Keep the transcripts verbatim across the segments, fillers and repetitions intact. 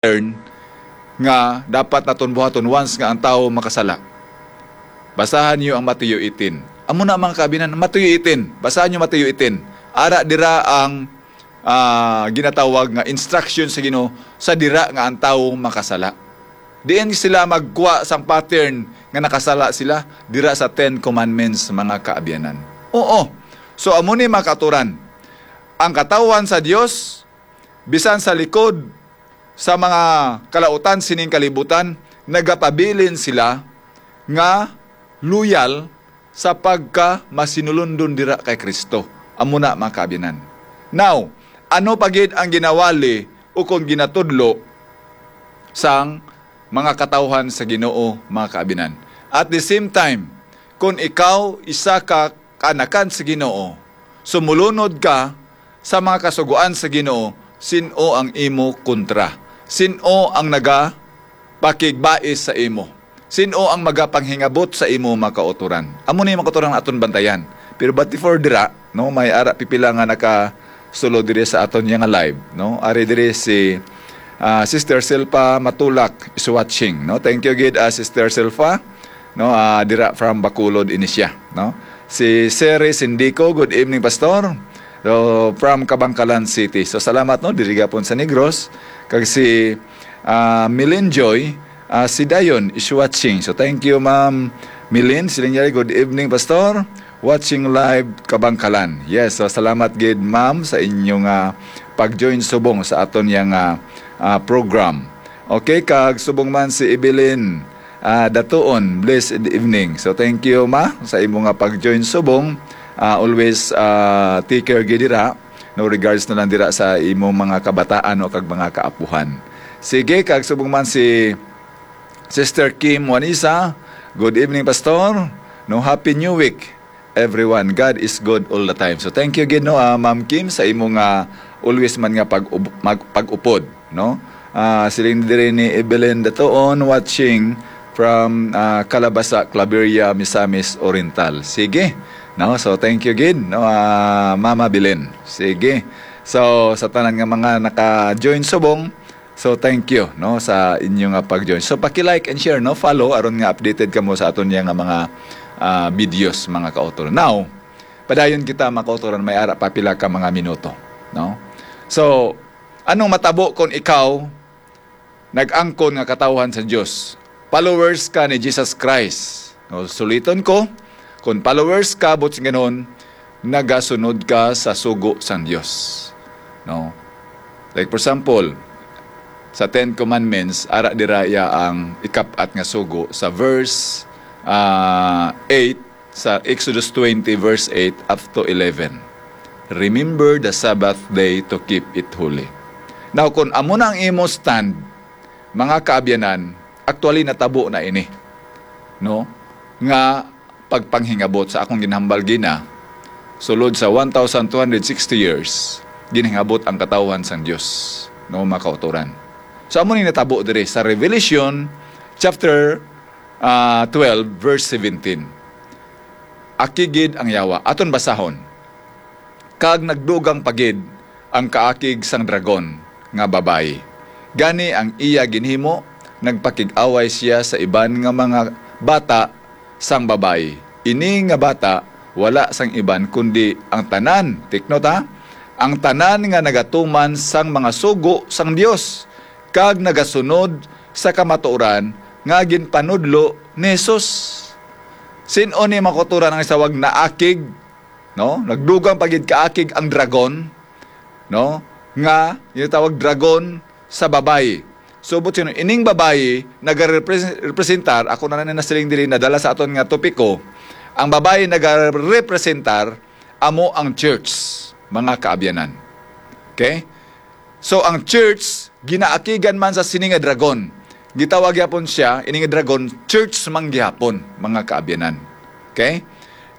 pattern nga dapat naton buhaton once nga ang tawo makasala. Basahan niyo ang Mateo eighteen. Amo na, mga kaabinan, Mateo eighteen. Basahan niyo Mateo eighteen. Ara dira ang, ah, ginatawag nga instruction sa Ginoo sa dira nga ang tawo makasala. Diin sila magkuha sang pattern nga nakasala sila? Dira sa Ten Commandments, mga kaabyanan. Oo. So, amo ni, mga kauturan. Ang katawhan sa Dios, bisan sa likod sa mga kalautan sining kalibutan, nagapabilin sila nga loyal sa pagka masinulundon dira kay Kristo. Amo na, mga kaabyanan. Now, ano pa gid ang ginawali ukon ginatudlo sang mga katawhan sa Ginoo, mga kaabyanan? At the same time, kung ikaw isa ka kaanakan sa Ginoo, sumulunod ka sa mga kasugoan sa Ginoo, sin-o ang imo kontra? Sin-o ang nagapakigbais sa imo? Sin-o ang magapanghingabot sa imo, mga kauturan? Amo ni, mga kauturan, aton bantayan. Pero but before dira, no, may ara pipila nga nakasulod diri sa aton nga live, no? Ari diri si, ah, Sister Silpa Matulak is watching, no? Thank you gid, ah, Sister Silpa, no? Ah, dira from Bacolod ini siya, no? Si Seri Sindico, good evening, Pastor. So, from Kabangkalan City. So, salamat, no, diri gapon sa Negros. Kag si, ah, Milin Joy, ah, si Dayon is watching. So, thank you, Ma'am Milin. Siling niya, "Good evening, Pastor. Watching live, Kabangkalan." Yes, so salamat gid, ma'am, sa inyong, ah, pag-join subong sa aton yang, ah, ah, program. Okay, kag subong man si Evelyn, ah, Datuon, blessed evening. So, thank you, ma, sa imo nga pag-join subong. Ah, always, ah, take care gid dira, no, regards na lang dira sa imo mga kabataan o kag mga kaapuhan. Sige, kag subong man si Sister Kim Juanisa, "Good evening, Pastor." No, Happy New Week, everyone. God is good all the time. So, thank you gid, no, ah, Ma'am Kim, sa imo nga always man nga pag mag, pag-upod, no? Ah, siling diri ni Evelyn Datuon, watching from, ah, Calabasa, Claveria, Misamis Oriental. Sige. No? So, thank you gid, no, ah, Mama Belen. Sige. So, sa tanan nga mga naka-join subong, so, thank you, no, sa inyo nga pag-join. So, paki-like and share, no, follow aron nga updated kamo sa aton nga mga, ah, videos, mga kauturan. Now, padayon kita, mga kauturan, may ara pa pila ka mga minuto, no? So, anong matabo kung ikaw nag-angkon nga katawhan sa Dios? Followers ka ni Jesus Christ. No, suliton ko, kung followers ka, buot silingon, nagasunod ka sa sugo sang Dios. No? Like, for example, sa Ten Commandments, ara dira iya ang ikap-at nga sugo sa verse, ah, eight, sa Exodus twenty, verse eight up to eleven. "Remember the Sabbath day to keep it holy." Now, kung amo na ang imo stand, mga kaabyanan, actually natabo na ini, no? Nga pagpanghingabot sa akong ginhambal gina, sulod sa one thousand two hundred sixty years, ginhingabot ang katawhan sang Dios, no, mga kauturan. So, amo ni natabo diri sa Revelation chapter, ah, twelve, verse seventeen. Akig gid ang yawa. Aton basahon. Kag nagdugang pa gid ang kaakig sang dragon nga babayi. Gani ang iya ginhimo, nagpakig-away sia sa iban nga mga bata sang babayi. Ini nga bata wala sang iban kundi ang tanan, take note ha, ang tanan nga nagatuman sang mga sugo sang Dios, kag nagasunod sa kamatuoran nga ginpanudlo ni Jesus. Sin-o ni, mga kauturan, ang isa wag naakig, no? Nagdugang pa gid kaakig ang dragon, no? Nga ginatawag dragon sa babayi. So, buot silingon, ining babayi nagarepresentar, ako na lang nasiling diri, nadala sa aton nga topiko. Ang babayi nagarepresentar amo ang church, mga kaabyanan. Okay? So, ang church, ginaakigan man sa sini nga dragon. Gitawag gyapon siya, ini nga dragon, church man gihapon, mga kaabyanan. Okay?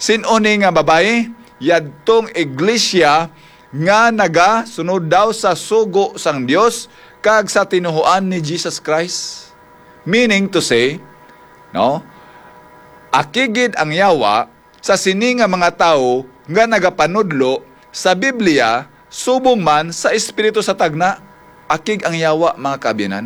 Sin-o ni nga babayi? Yadtong iglesia nga nagasunod daw sa sugo sang Dios kag sa tinuohan ni Jesus Christ. Meaning to say, no? Akig gid ang yawa sa sini nga mga tawo nga nagapanudlo sa Biblia subong man sa espiritu sa tagna. Akig ang yawa, mga kaabyanan,